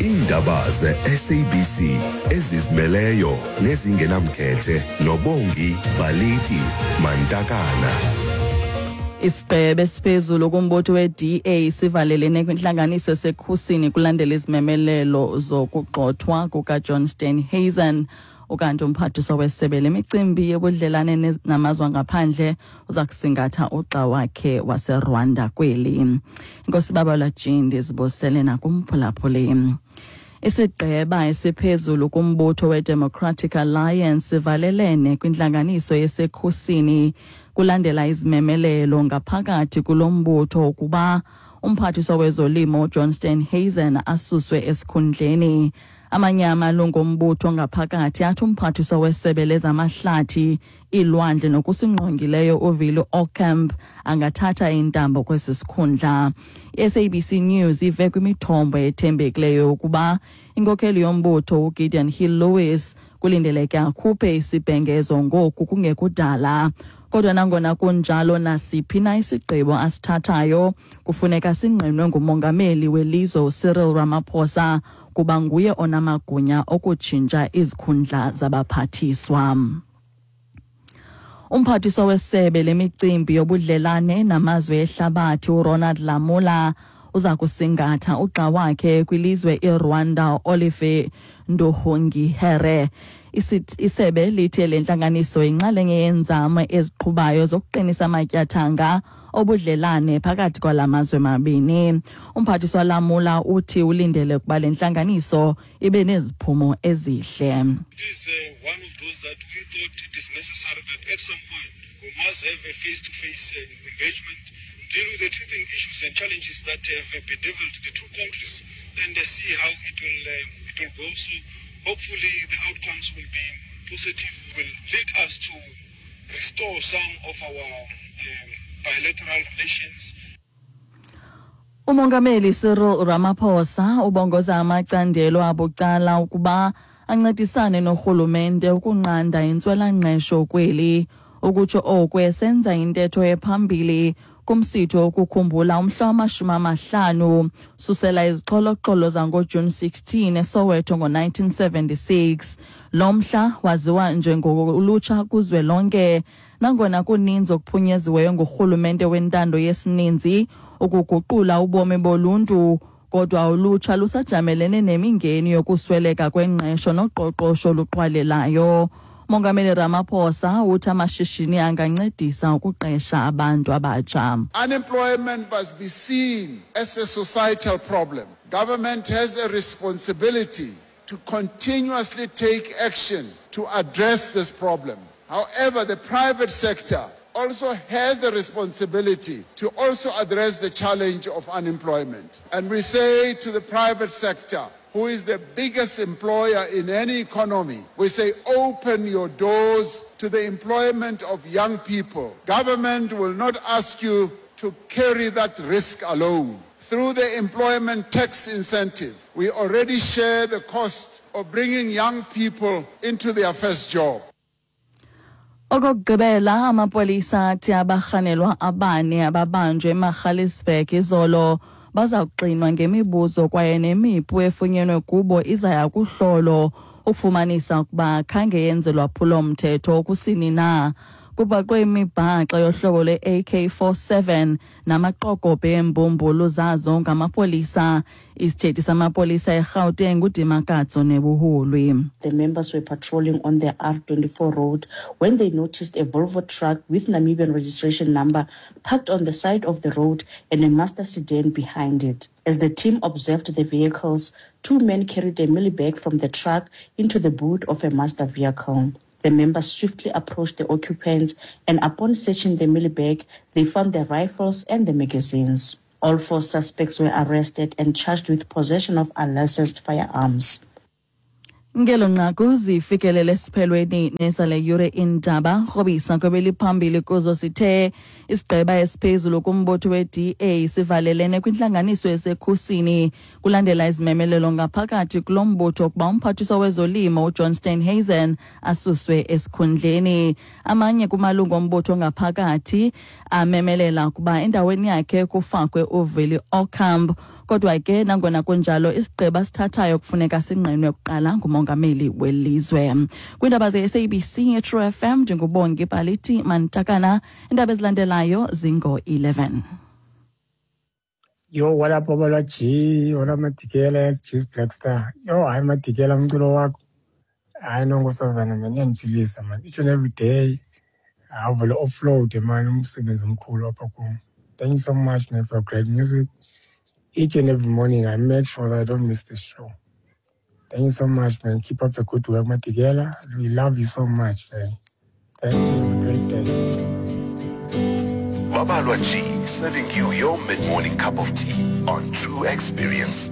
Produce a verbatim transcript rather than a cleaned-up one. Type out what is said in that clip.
Iindaba ze-S A B C ezizimeleyo nezingenamkhethe noBongi Baliti Mantakana. Isigqeba esiphezulu kumbutho we-D A sivalelene kwintlanganiso esekhusini kulandela izimemelelo zokugxothwa kukaJohn Steenhuisen. Ukanti umphathiswa wesebe lemicimbi yobudlelane namazwe angaphandle uza kusingatha ugxa wakhe waseRwanda kweli. Inkosi Babalwa Jindi zibosele nakumphulaphuli. Isigqeba esiphezulu kumbutho weDemocratic Alliance sivalelene kwintlanganiso yesekhusini kulandela izimemelelo ngaphakathi kulo mbutho ukuba umphathiswa wezolimo uJohn Steenhuisen asuswe esikhundleni. Amanye amalungu ombutho ngaphakathi athi umphathiswa wesebe lezamahlathi, iilwandle nokusingqongileyo uVili Aucamp angathatha intambo kwesi sikhundla. I-S A B C News ive kwimithombo ethembekileyo ukuba inkokheli yombutho uGideon Hill Lewis kulindeleke akhuphe isibhengezo ngoku kungekudala. Kodwa nangona kunjalo, nasiphi na isigqibo asithathayo kufuneka singqinwe ngumongameli welizwe uCyril Ramaphosa, kuba nguye onamagunya okutshintsha izikhundla zabaphathiswa. Umphathiswa wesebe lemicimbi yobudlelane namazwe ehlabathi uRonald Lamola uza kusingatha ugxa wakhe kwilizwe iRwanda, Olivier Nduhungirehe. Isebe lithe le ntlanganiso yinxalenye yeenzame eziqhubayo zokuqinisa amatyathanga obudlelane phakathi kwala mazwe mabini. Umphathiswa Lamola uthi ulindele ukuba le ntlanganiso ibe neziphumo ezihle. It is uh, one of those that we thought it is necessary that at some point we must have a face-to-face uh, engagement, deal with the teething issues and challenges that have uh, bedeviled the two countries, and uh, see how it will uh, it will go. So hopefully the outcomes will be positive, will lead us to restore some of our um, bilateral relations. Umongameli Cyril Ramaphosa ubongoza amacandelo abucala ukuba ancedisane norhulumente ukunqanda intswelangqesho kweli. Ukutsho oku esenza intetho ephambili kumsitho wokukhumbula umhla wamashumi amahlanu susela izixholoxholo zangoJuni sixteen eSoweto ngo-nineteen seventy-six. Lo mhla waziwa njengolutsha kuzwelonke. Nangona kuninzi okuphunyeziweyo ngurhulumente wentando yesininzi ukuguqula ubomi boluntu, kodwa ulutsha lusajamelene nemingeni yokusweleka kwengqesho noqoqosho oluqhwalelayo. Mongameli Ramaphosa uthi amashishini angancedisa ukuqesha abantu abatsha. Unemployment must be seen as a societal problem. Government has a responsibility to continuously take action to address this problem. However, the private sector also has a responsibility to also address the challenge of unemployment. And we say to the private sector, who is the biggest employer in any economy, we say, open your doors to the employment of young people. Government will not ask you to carry that risk alone. Through the employment tax incentive, we already share the cost of bringing young people into their first job. Okokugqibela, amapolisa athi abarhanelwa abane ababanjwe eMagaliesburg izolo baza kuxinwa ngemibuzo, kwaye nemipu efunyenwe kubo izaya kuhlolo ukufumanisa ukuba khange yenze lwaphulo-mthetho kusini na. Kubhaqwe imibhaxa yohlobo lwe-A K forty-seven namaqokobhe eembumbulu zazo ngamapolisa. Isithethi samapolisa eGauteng uDimakatso Nevhuhulwi. The members were patrolling on the R twenty-four road when they noticed a Volvo truck with Namibian registration number parked on the side of the road and a Mazda sedan behind it. As the team observed the vehicles, two men carried a mealie bag from the truck into the boot of a Mazda vehicle. The members swiftly approached the occupants, and upon searching the mealie bag, they found the rifles and the magazines. All four suspects were arrested and charged with possession of unlicensed firearms. Ngelo nqaku zifikelele esiphelweni nezale yure indaba. Rhobisa kwebeliphambili kuzo sithe isigqeba esiphezulu kumbutho we-D A sivalelene kwintlanganiso esekhusini kulandela izimemelelo ngaphakathi kulo mbutho ukuba umphathiswa wezolimo uJohn Steenhuisen asuswe esikhundleni. Amanye kumalungu ombutho ngaphakathi amemelela ukuba endaweni yakhe kufakwe uVili Aucamp. Kodwa ke nangona kunjalo, isigqibo asithathayo kufuneka singqinwe kuqala ngumongameli welizwe. Kwiindaba ze-S A B C True F M, ndinguBongi Paliti Mantakana. Iindaba ezilandelayo zingo-eleven. Yo, what up, Babalwa G? What up, Madikela, G's Black Star? Yo, hayi Madikela, umculo wakho. Hayi no, nkosazana man, iyandiphilisa man. Each and every day, awuvele offload man, umsebenzi omkhulu apha kum. Thank you so much, man, for great music. Each and every morning, I make sure that I don't miss the show. Thank you so much, man. Keep up the good work, Madikela. We love you so much, man. Thank you. Have a great day. Babalwa G, serving you your mid-morning cup of tea on True Experience.